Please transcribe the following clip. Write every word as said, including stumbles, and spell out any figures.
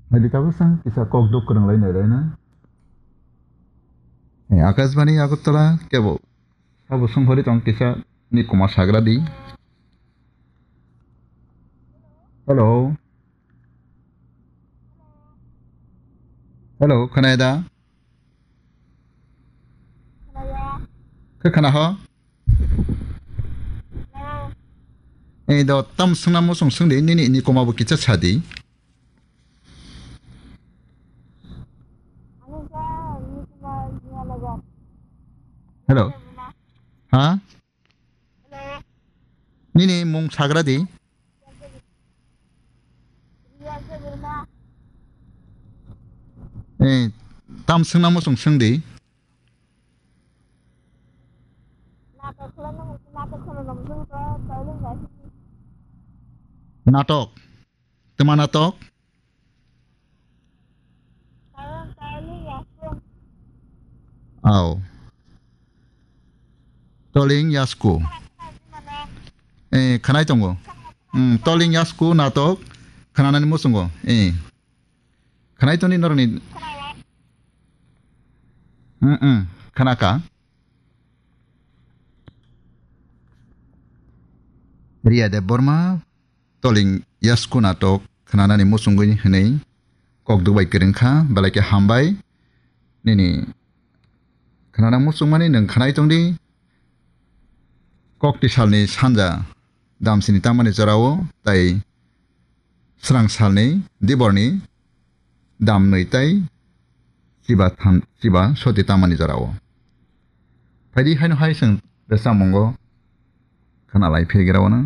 Hai di tabuk sang kisa kok duk kwrwng lai nai lai na. Eh, Akashbani Agartala kebo sabo songkhori tong kisa ni kuma sagra di. Hello. Hello, khwnai da? Khe khwna ho? Eh, do tam swngna muchung swng di, nini ni kuma bo kisa sa di. Hello. Ha? Nini mung sagra di. Eh, tam swngna muchung swng di. Natok. Twma natok? Au. Toling Yasku. Eh, khwnai tongo. Hmm, Toling Yasku natok khwnanani muchungo. Eh. Khwnai toni noroni. Hmm, hmm. Khwnaka. Riya Debbarma. Toling Yasku natok khwnanani muchungwi hwnwi kok duk bai kwrwng kha, belai khe hambai. Nini khwnana muchungmani nwng khwnai tong di. Kokti salni sanja damsini tamani jorao tei srang salni diborni damnwi tei chiba tham, chiba soti tamani jorao. Phaidi haino hai chwng rwchapmungo khwnalai phirgirao no.